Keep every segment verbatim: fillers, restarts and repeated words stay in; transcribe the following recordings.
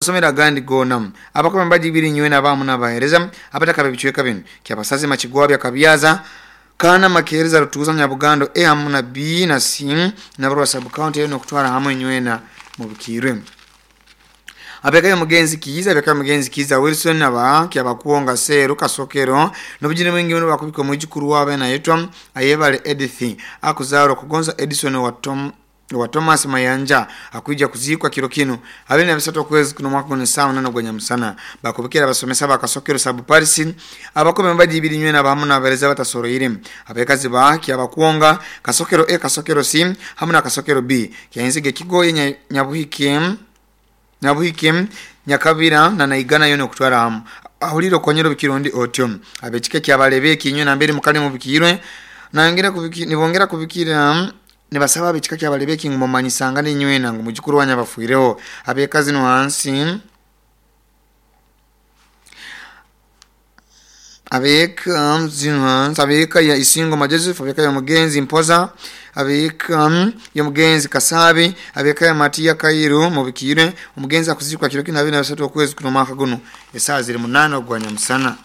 Amasomero agandi gona abakoma mbaji ibiri nywena abamu n'abahereza abataka bebicweka bino kyabasazi makigwabya kabyaza kana makereza rutuza nyabugando e hamu na B na C nabarwa sub county no kutwara hamwe nywena mu bukirwe. Abekayo mugenzi Kiiza, abekayo mugenzi Kiiza Wilson aba kyabakuonga seru kasokero nobujine mwingi muno bakubika mwijukuru wabe nayetwa Ayebale Edith akuzaro kugonza Edison wa Tom wa Thomas Mayanja akuija kuzikwa kiro kino abene na bisatu kwezi kuno mwaka guno sawa nano gwanya musana bakubikira abasomesa bakasokero sabu Paris abakome mbaji ibiri nywena abamu n'abareza batasoroire abekazi ba kyabakuonga kasokero A kasokero C hamwe na kasokero B kyainzige kigoye nyabuhike nyabuhike nyakabira na naigana yono kutwara hamu ahuliro konyero bikirundi otyo abekike kyabalebe kinyo na mbere mukali mu bikirwe nangera kubiki nibongera kubikira nibasaba abekika kyabalebe ngumanyisanga ninywena ngo mujukuru wanya bafuireho abekazi no hansi abeka zino abeka ya isingo Joseph abeka ya mugenzi Mpoza abeka ya mugenzi Kasabe abeka ya Matia Kairo mu bikire umugenzi akuzikwa kiro kina bina basatu okwezi kuno mwaka guno esaa ziri munana ogwanya musana.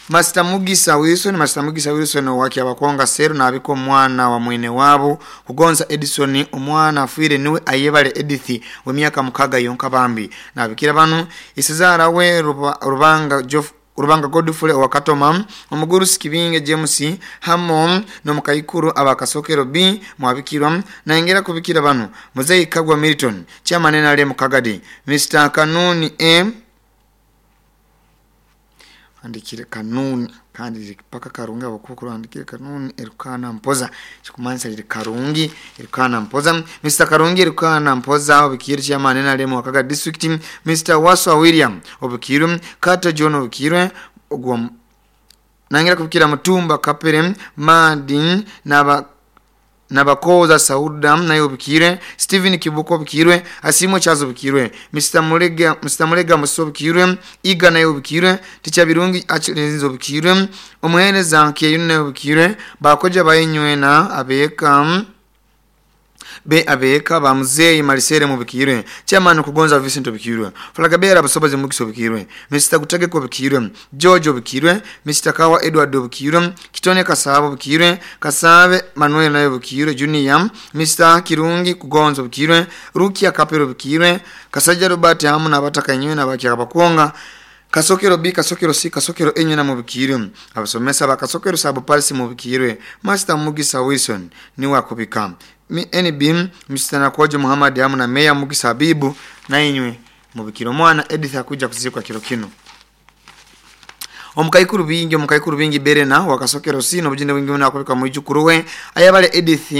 Master Mugisa Wilson Master Mugisa Wilson waki abakonga seru na abiko mwana wa mwene wabo kugonza Edison omwana afuire niwe Ayebale Edith we myaka mukaga yonka bambi na abikira banu isizara we Rubanga Joff Rubanga Godfrey wakatoma omuguru Sikibinge James hamo no mukaikuru abakasokero B mwabikirwa naengera kubikira banu Muzei Kagwa Milton chairman nale mukagadi Mister Kanuni M andikire Kanuni kandi paka Karungi abakukuru andikire Kanuni Erukana Mpoza kikumansa liri Karungi Erukana Mpoza Mister Karungi Erukana Mpoza obikiri chairman nale mu district Mister Waswa William obikiru Kato John obikirwe ogwa nangira kubikira Mutumba Kapere Madin naba nabakoza Sauda nayo obikirwe Steven Kibuko obikirwe Asimo Chazo obikirwe Mister Mulega Mister Mulega Muso obikirwe Iga nayo obikirwe Ticha Birungi Achirenzo obikirwe Omuhereza Kiyune obikirwe bakoja bayenywena abeka be abeka ba Muzei Marisere mubikirwe chairman kugonza Vincent obikirwe Flagabera Busobozi Mugiso obikirwe Mister Gutegeko obikirwe George obikirwe Mister Kawa Edward obikirwe Kitone Kasabo obikirwe Kasabe Manuel nayo obikirwe Junior Mister Kirungi kugonza obikirwe Rukia Kapero obikirwe Kasaja Robert hamu nabataka nywe nabakya bakonga Kasokero B kasokero C kasokero enye na mubikirwe abasomesa bakasokero sabo Paris mubikirwe Master Mugisa Wilson ni wakubika N B Mister Nakojo Muhammad hamu na Meya Mugisa Habibu na inywe mubikiro mwana Edith akuja kuzikwa kiro kino. Omukaikuru bingi omukaikuru bingi Berena wakasokero C nobujinde wingi unakubika mwijukuru we Ayabale Edith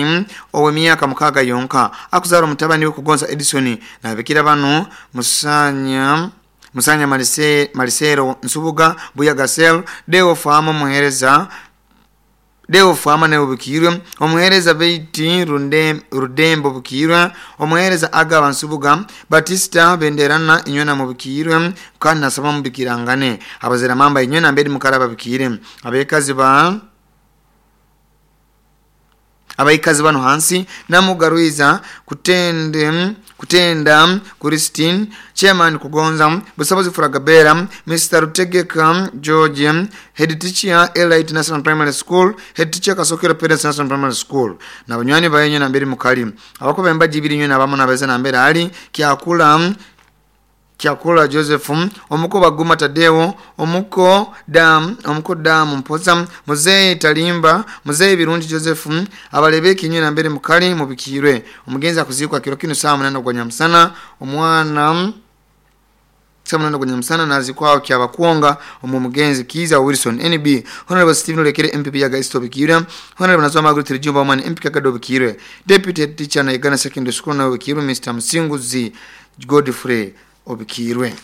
owe miaka mukaga yonka akuzara mutabani we kugonza Edison na bikira banu musanya Musanya Marise, Marisero Nsubuga Buya Gasel Deo Fama muhereza Deo Fama ne obikirwe omuhereza Beiti Runde Rudembo bukirwe omuhereza Agaba Nsubuga Batista Benderana inywena mubikirwe kandi nasaba mubikirangane abazera mamba inywena mbedi mukaraba bikire abekazi ba abaikazi bano hansi namugaruiza kutende kutenda Christine chairman kugonza Busobozi Furagabera Mister Rutegeka George head teacher Elite National Primary School head teacher Kasokero Parents National Primary School na banywani bayenye na mbere mukali abakobe mbaji ibiri nywe nabamo nabeza na mbere ali kyakula Kyakula Joseph omuko baguma Tadeo omuko dam omuko dam Mpoza Muzei Talimba Muzei Birungi Joseph abalebeki nywe na mbere mukali mubikirwe omugenzi akuzikwa kiro kino saa munana ogwa musana omwana saa munana ogwa musana nazikwao kyabakuonga omu mugenzi Kiza Wilson N B Honorable Stephen Lekere M P P ya Gaisto bikirwe Honorable Nazwa Margaret Rijumba Omani M P Kagado bikirwe Deputy Teacher na Uganda Secondary School na bikirwe Mister Msinguzi Godfrey obikirwe.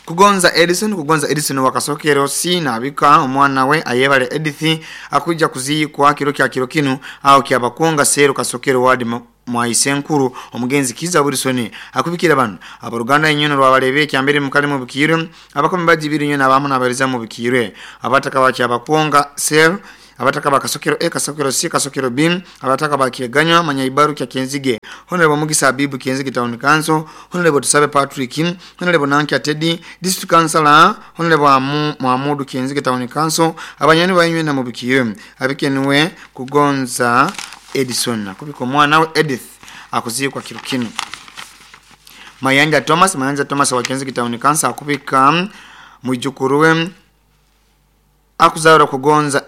Kugonza Edison kugonza Edison wakasokero C na abika omwana we Ayebale Edith akuja kuzikwa kiro kya kiro kino au kyabakonga sero kasokero wadi mwaisenkuru omugenzi Kiza Wilson akubikira bano abaruganda inyono rwabalebe kyambere mukali mu bikirwe abakombe bajibiri nyo nabamu nabareza mu bikirwe abataka bakyabakonga sel Abataka bakasokero A, Kasokero C, Kasokero B, abataka bakieganywa Manyaibaru kya Kenzige, Honorable Mugisa Abibu Kenzige Town Council, Honorable Tusabe Patrick, Honorable Nankia Teddy District Councilor, Honorable Muhammadu Kenzige Town Council, abanyani bainywe na mubikire abikenwe kugonza Edison akubiko mwana we Edith akuzikwa kirukino. Mayanja Thomas, Mayanja Thomas wa Kenzige Town Council akubika mwijukuruwe akuzara kugonza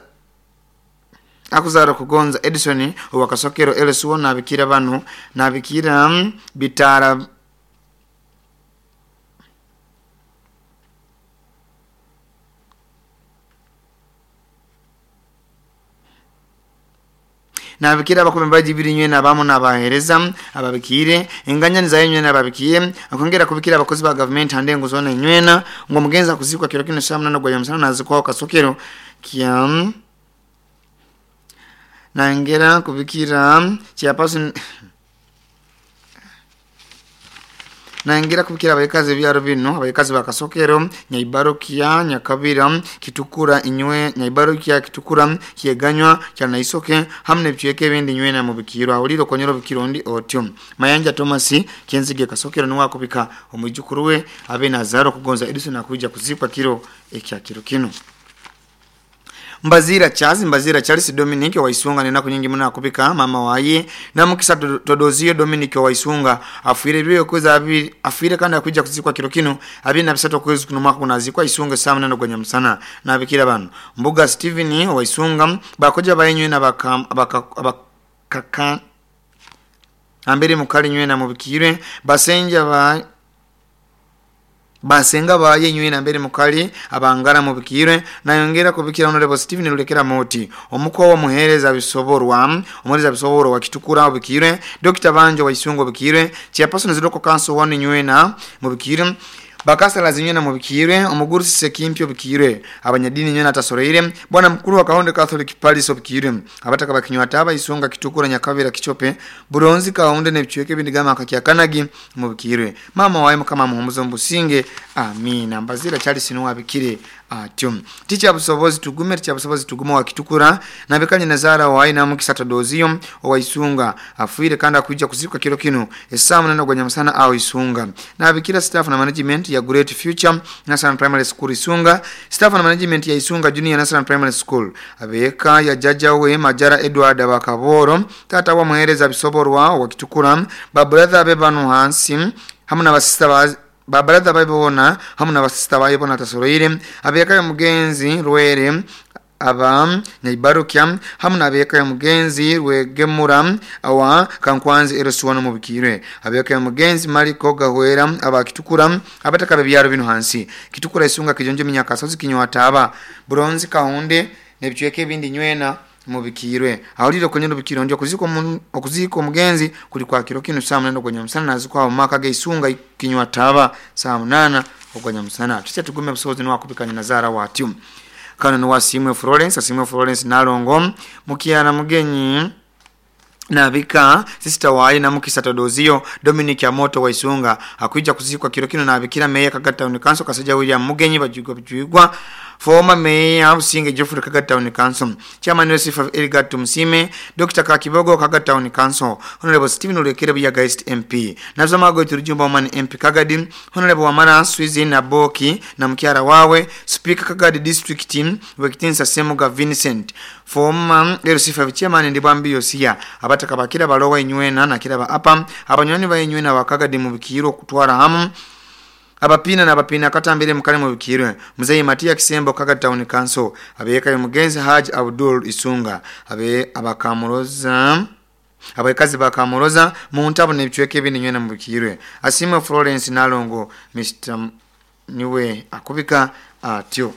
akuzara kugonza Edison wakasokero L C one nabikira bano nabikira bitara nabikira abakombe birinywe nabamo nabahereza ababikire enganya nizayenywe nababikiye akongera kubikira abakozi ba government handengo zona nywena ngo mugenza kuzikwa kiro kino saa munana gwa musana nazikwa kasokero kya nangera kubikira chairperson nangera kubikira abayikazi byaro bino abayikazi bakasokero Nyaibarukia Nyakabira Kitukura inywe Nyaibarukia Kitukura kieganywa cyanaisoke hamne byeke bindi nywe na mubikiro awuliro konyero bikirondi otyo. Mayanja Thomas Kenzige Kasokero ni wakubika omwijukuru we abe Nazaro kugonza Edison akuja kuzikwa kiro ekya kiro kino. Mbazira Charles, Mbazira Charles Dominic wa Isunga nena kunyingi muna akubika mama waye na mukisa Todozio Dominic wa Isunga afuire biyo kweza abiri afuire kandi akuja kuzikwa kiro kino abiri na bisato kwezi kuno mwaka kunazikwa Isunga saa munana gwa nyamusana na abikira bano Mbuga Steven wa Isunga bakoja bayenywe na baka baka, baka ambere mukali nywe na mubikire basenja ba basenga baye nywe na mbere mukali abangara mubikire nayongera kubikira Honorable Steven Lulekera Moti omuko wa muhereza bisoborwa umuhereza bisoborwa wa Kitukura mubikire Doctor Banjo wa Isungo bikire Chairperson Zidoko Council one nywe na mubikire bakasala zinywe na mubikire omugurusi Sekimpyo bikire abanyadini nywe na tasoreire bwana mkuru wa Kahonde Catholic Palace bikire abataka bakinywa taba Isunga Kitukura Nyakabira Kichope Buronzi Kahonde nebichweke bindigama akakyakanagi mubikire mama wae mukama muhumuzo mbusinge amina. Mbazira Charles nuwa bikire atyo. Ticha busobozi tugume ticha busobozi tugume wa Kitukura nabekanye nazara wae na mukisa Todozio wa Isunga afuire kanda kuja kuzikwa kiro kino esaa munana gwa nyamusana au Isunga nabikira staff na management ya Great Future National Primary School Isunga staff na management ya Isunga Junior National Primary School abeka ya jaja we Majara Edward Abakaboro tata wa muhereza bisoborwa wa Kitukura ba brother be banu hansi hamwe na basista ba ba brother babona hamwe na basista bayibona tasoroire abeka ya mugenzi Rwere aba Nyaibarukia hamwe nabeka ya mugenzi Rwegemura awa Kankwanzi Erosuwa no mubikire abeka ya mugenzi Mariko Gahwera aba Kitukura abataka bebyaro bino hansi Kitukura Isunga Kijonjo Minyakasozi Kinywa Taba Bronze Kahonde nebichweke bindi nywena mubikirwe awuliro konyero bikiro ndio kuziko okuziko mugenzi kuli kwa kiro kino saa munana gwa nyamusana nazikwa maka ge Isunga Kinywa Taba saa munana gwa nyamusana tuche tugume busobozi no akubikanya nazara watyo kano ni wasimwe Florence asimwe Florence nalongo mukiana mugenyi nabika sister wae na mukisa Todozio Dominic Amoto wa Isunga akuija kuzikwa kiro kino nabikira meya Kagata Town Council Kasaja William Mugenyi bajugwa bjugwa former mayor Businge Geoffrey Kagata Town Council Chairman Yosef Elgar Tumsime Doctor Kakibogo Kagata Town Council Honorable Stephen Olekere Buyaga East M P Nazamago Turujumba Woman M P Kagadi Honorable Wamara Swizi Naboki na mkiara wawe Speaker Kagadi District Team Wekitinsa Semuga Vincent former L C five Chairman Ndibambi Yosia abataka bakira balowa inywena na kiraba apa abanywani bayenywena wakagadi mu bikiro kutwara hamu abapina na abapina katambire mukale mu bikiro Mzee Matia Kisembo Kagadi Town Council abeka mugenzi Haji Abdul Isunga abe abakamuroza abayikazi bakamuroza mu ntabo nebichweke binywena mu bikiro Asimwe Florence Nalongo Mister niwe akubika atyo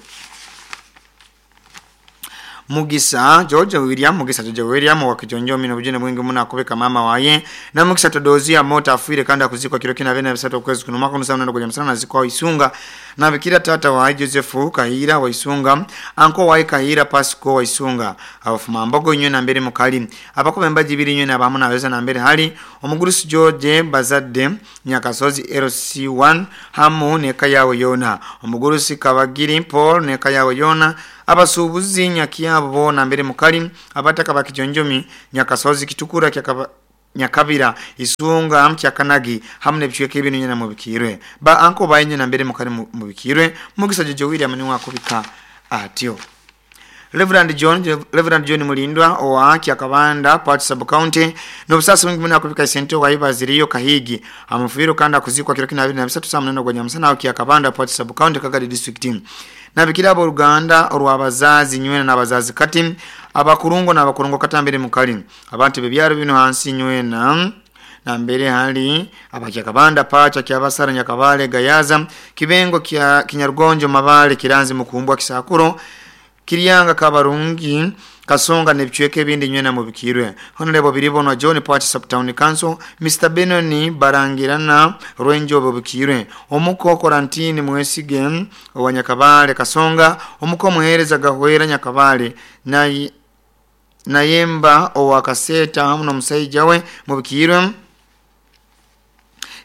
Mugisa George William Mugisa George William wa Kijonjo mino bujene mwingi muna akubika mama waye na Mugisa Todozia Mota afuire kanda kuzikwa kiro kina bene bisato kwezi kuno mwaka nusa mnano msana na zikwa Isunga na bikira tata wa Joseph Kahira wa Isunga anko wa Kahira Pasco wa Isunga abafuma mbogo nywe na mbere mukali abakobe mbaji biri nywe na bamu naweza na mbere hali omugurusi George Bazadde Nyakasozi L C one hamu neka yawe yona omugurusi Kabagiri Paul neka yawe yona Abasuubuzi Nyakyabo boona mbere mukali abataka bakijonjomi Nyakasozi Kitukura kyakaba Nyakabira Isunga Mchakanagi hamwe n'ebicweka ebintu nyina mubikirwe ba anko bayenye na mbere mukali mubikirwe Mugisa Jojo William niwe akubika atyo. Reverend John Reverend John Mulindwa owa Kyakabanda Part Sub County n'obusasi bwingi muno akubika sente wayibaziriyo Kahigi amufiro kandi akuzikwa kiro kina abiri na bisatu saa munana gwa nyamusana aho Kyakabanda Part Sub County Kagadi District. Nabikira aboluganda olw'abazazi nywena n'abazazi kati abakurungo n'abakurungo katambere mukali abantu bebyaro bino hansi nywena nambere hali abakyakabanda Pacha Kyabasara Nyakabale Gayaza Kibengo kya Kinyarugonjo Mabale Kiranzi Mukumbwa Kisakuro Kiryanga Kabarungi Kasonga n'ebicweka ebindi nywena mubikirwe. Honorable Biribonwa John Part Sub Town Council Mister Benoni Barangirana Rwenjobo bukirwe omuko Korantini Mwesige wa Nyakabale Kasonga omuko Muhereza Gahwera Nyakabale na Nayemba owa Kaseta hamwe n'omusajja we mubikirwe.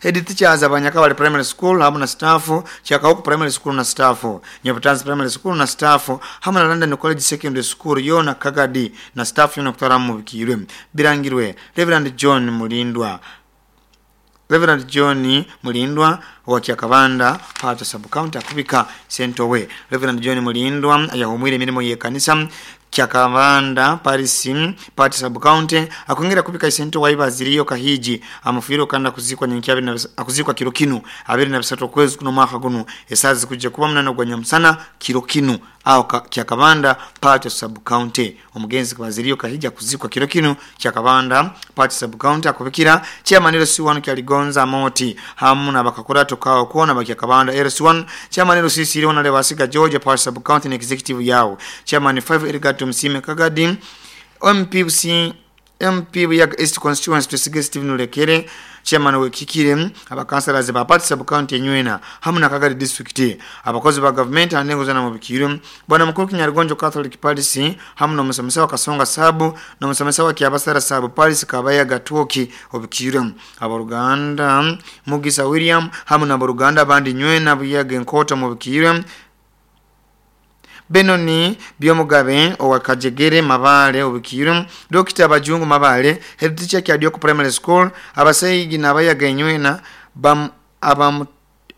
Head teachers abanyakabale Primary School hamwe na staff Kyakawuku Primary School na staff Nyabutanzi Primary School na staff hamwe na London College Secondary School yona Kagadi na staff yona kutwara mubikirwe. Birangirwe Reverend John Mulindwa Reverend John Mulindwa wa Kyakabanda Part Sub County akubika Sentowe. Reverend John Mulindwa yahumwire emirimo ye kanisa Kyakabanda Paris Part Sub County akongera kubika sento wayibaziriyo Kahiji amufiro kanda kuzikwa nyenkya na akuzikwa kiro kinu abiri na bisatu kwezi kuno mwaka guno esazi kujja kuba munana gwa nyamusana kiro kinu aho Kyakabanda Part Sub County. Omugenzi kubaziriyo Kahiji akuzikwa kiro kinu Kyakabanda Part Sub County akubikira chairman L C one Kyaligonza Moti hamu na bakakora tukao kuona bakyakabanda L C one chairman L C C Honore Wasiga George Part Sub County na executive yao chairman five Edgar Msime Kagadi M P C M P Buyaga East Constituency Tusige Stephen Lekere chairman wekikire abakansalazi ba Part Sub County nywena hamwe na Kagadi District abakozi ba government anengo zana mubikiro bwana mukuru Kinyarugonjo Catholic Parish hamwe no musomesa wa Kasonga Sabu no musomesa wa Kyabasara Sabu Parish Kabaya Gatoki obikiro aboruganda Mugisa William hamwe na boruganda bandi nywena Buyaga Enkota mubikiro Benoni Byomugabe owa Kajegere Mabale obikiro Doctor Bajungu Mabale head teacher Kyadioko Primary School abasayigi nabayaga nywena bam abam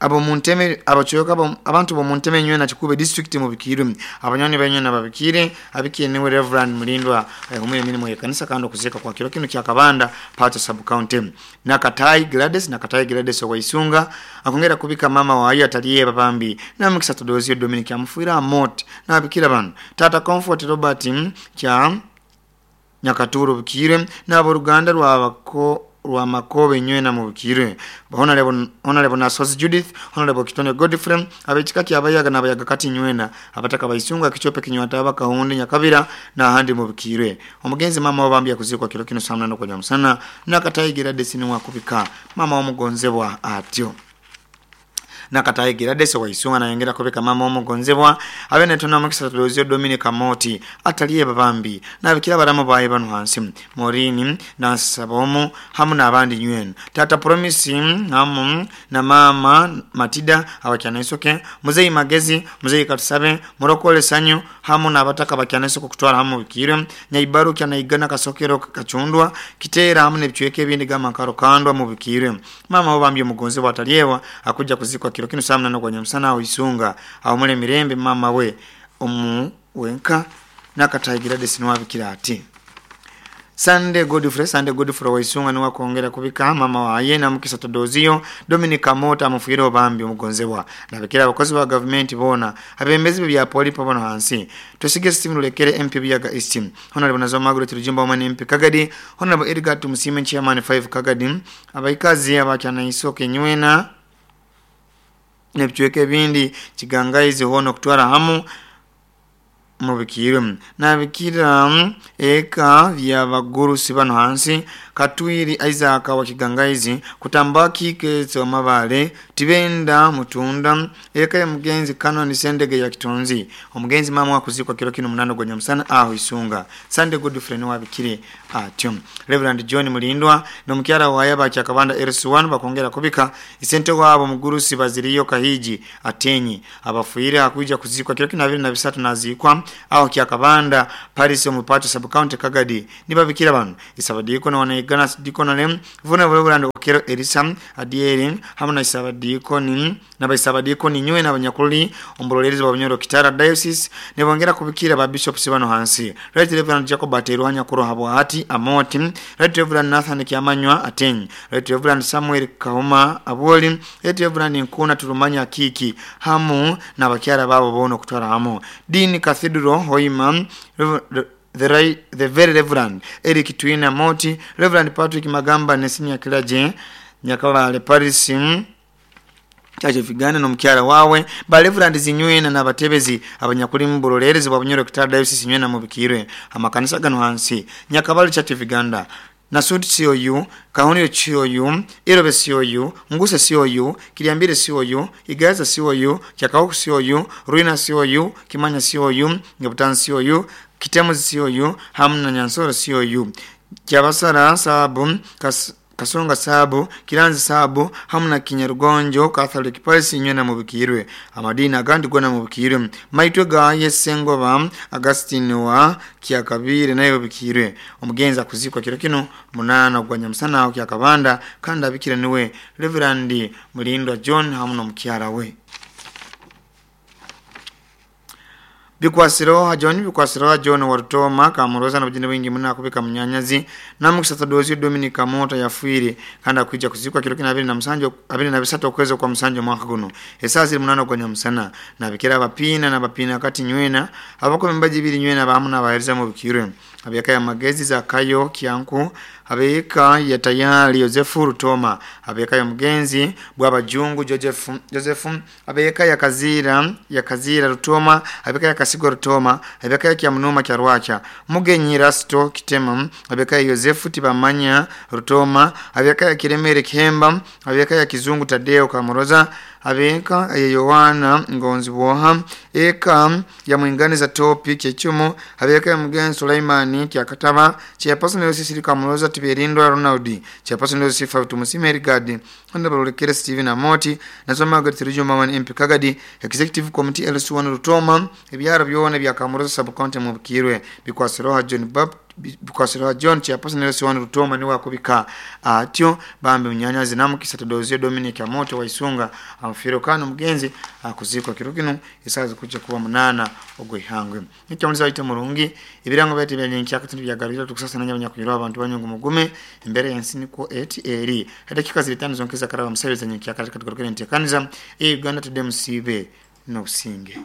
abo munteme abachoka abantu bo munteme nywena Kikube District mubikiro abanyoni banywena babikire abikiye niwe Reverend Mulindwa ayumwe mirimo ya kanisa kando kuzeka kwa kiro kino Kyakabanda Part Sub County. Nakatai Gladys Nakatai Gladys wa Isunga akongera kubika mama wa ayo ataliye babambi na mukisa Todozio Dominic amfuira mot na abikira bano Tata Comfort Robert kya Nyakaturo bikire na Ruganda rwabako rwa Makobe nywena mubikire Honorable Honorable Nasozi Judith Honorable Kitone Godfrey abekika kyabayaga nabayaga kati nywena abataka bayisunga kichope kinywata bakahunde Nyakabira na handi mubikire omugenzi mama wabambya kuzikwa kiro kino saa munana kwa musana nakatayigira desini wakubika mama omugonzebwa atyo nakatayigira desi waisunga nayongera kubika mama omugonzebwa abene tona mukisa Tulozio Dominic Amoti ataliye babambi nabikira baramu baye bano hansi Morini na Sabomu hamu n'abandi nywena Tata Promise hamu na mama Matida abakyana Muzeyi Magezi Muzeyi Katusabe Murokole Sanyu hamu n'abataka bakyana isoko kutwara hamu bikire Nyaibaru kyanaigana Kasokero Kachundwa Kitera hamu n'ebicweka ebindi gama karo kandwa mu bikire mama obambye omugonzebwa ataliyewa akuja kuzikwa kiro kino saa munana gwa nyamusana aho Isunga aho mule mirembe mama we omu wenka nakatayigira desi niwabikira ati Sunday Godfrey Sunday Godfrey waisunga niwa kongera kubika mama waye na mukisa Todozio Dominic Amota amufiro bambi omugonzebwa nabikira abakozi ba government bona abembezi bya poli pabano hansi Tusige Stephen Lekere M P Buyaga East Honorable Nazo Margaret Rujumba Woman M P Kagadi Honorable Edgar Tumusime Chairman five Kagadi abaikazi abakyana isoke nywena n'ebicweka ebindi Kigangaizi hono kutwara hamu mubikire nabikira eka vyabagurusi bano hansi Katwiri Isaac wa Kigangaizi kutambaki kezo Mabale Tibenda Mutunda eka ya mugenzi Canon Sendege ya Kitonzi omugenzi mama wakuzikwa kiro kino munano gwa nyamusana aho Isunga Sunday Godfrey ni wabikire atyo Reverend John Mulindwa no mukyara wa yaba Kyakabanda L C one bakongera kubika isente wabo mugurusi baziriyo Kahiji atenyi abafuire akuja kuzikwa kiro kino abiri na bisatu nazikwa aho Kyakabanda Paris omupacho sub county Kagadi nibabikira bano isabadikoni wanaigana dikoni vuna Reverend Okero Elisa Adieri hamwe na isabadikoni n'abaisabadikoni nywe n'abanyakuli ombulolerezi wa Bunyoro Kitara Diocese nibongera kubikira ba bishops bano hansi Right Reverend Jacob Aterwanya Kurohabwa hati Amoti Right Reverend Nathan Kiamanywa Ateng Right Reverend Samuel Kahuma Aboli Right Reverend Nkuna Turumanya Kiki hamu na bakyara babo bono kutwara hamu Dean Cathedral Hoima The, right, the very Reverend Eric Twina Moti Reverend Patrick Magamba Nesinya Kilaje Nyakabale Paris Church of Uganda n'omukyala wawe ba Reverend Zinywena n'abatebezi abanyakuli mu bulolerezi bwa Bunyoro Kitara Diocese Nywena mu bikirwe amakanisa gano hansi Nyakabale Church of Uganda Nasuti C O U, Kahoniro C O U, Irobe C O U, Nguse C O U, Kiliambire C O U, Igaza C O U, Kyakaoku C O U, Ruina C O U, Kimanya C O U, Ngebutan C O U, Kitemu C O U, hamu na Nyansoro C O U. Kyabasara Sabu, Kas Kasonga Sabu, Kiranzi Sabu, hamu na Kinyarugonjo, Catholic Parish nywena mubikirwe. Amadini agandi gona mubikirwe. Maitwe ga Yesengoba, Augustine wa Kyakabire nayo bikirwe. Omugenzi akuzikwa kiro kino munana gwa Nyamusana aho Kyakabanda kandi abikira niwe Reverend Mulindwa John hamu na mukyara we. Bikwasiro John Bikwasiro John Warutoma kamuroza na bujine wingi muna kubika munyanyazi na mukisata dozi Dominic Mota yafuire kandi akwijja kuzikwa kiro kina abiri na musanjo abiri na bisatu okwezi kwa musanjo mwaka guno esasi munana kwa Nyamusana na bikira bapina na bapina kati nywena abako mbaji biri nywena bamu na bahereza mu bikirwe abiyaka ya magezi za kayo kianku abeka ya tayari Yosefu Rutoma abeka ya mugenzi bwabajungu Joseph Joseph abeka ya kazira ya kazira Rutoma abeka ya Kasigo Rutoma abeka ya Kyamunuma kya Rwacha mugenyi Rasto Kitema abeka ya Yosefu Tibamanya Rutoma abeka ya Kiremere Kihemba abeka ya Kizungu Tadeo Kamuroza abeka ya Yohana Ngonzi Boha eka ya Mwinganiza Topi Kyechumo abeka ya mugenzi Sulaimani Kyakataba chairperson Yosisi Kamuroza Tiberindwa Ronaldi chairperson Yosisi Tumusime Rigadi Honorable Steven Amoti nasoma Gatirujo Mama M P Kagadi Executive Committee L C one Rutoma ebyaro byona bya Kamuroza sub county mu bukirwe bikwasiroha John Bab bikwasiroha John chairperson L C one Rutoma ni wakubika atyo bambe munyanyazi namukisa Tadozio Dominic Amoto waisunga amfiro kano mugenzi akuzikwa kirukino isazi kuja kuba munana ogwe ihangwe nicyo ite murungi ibirango byati bya katundu byagarira tukusasa nanya abanyakunyura abantu banyungu mugume imbere ya nsi niko eti eri dakika zilitano zonkeza karaba musabeza nyikyaka katika tukorokere ntekaniza e Uganda Today musibe no singe.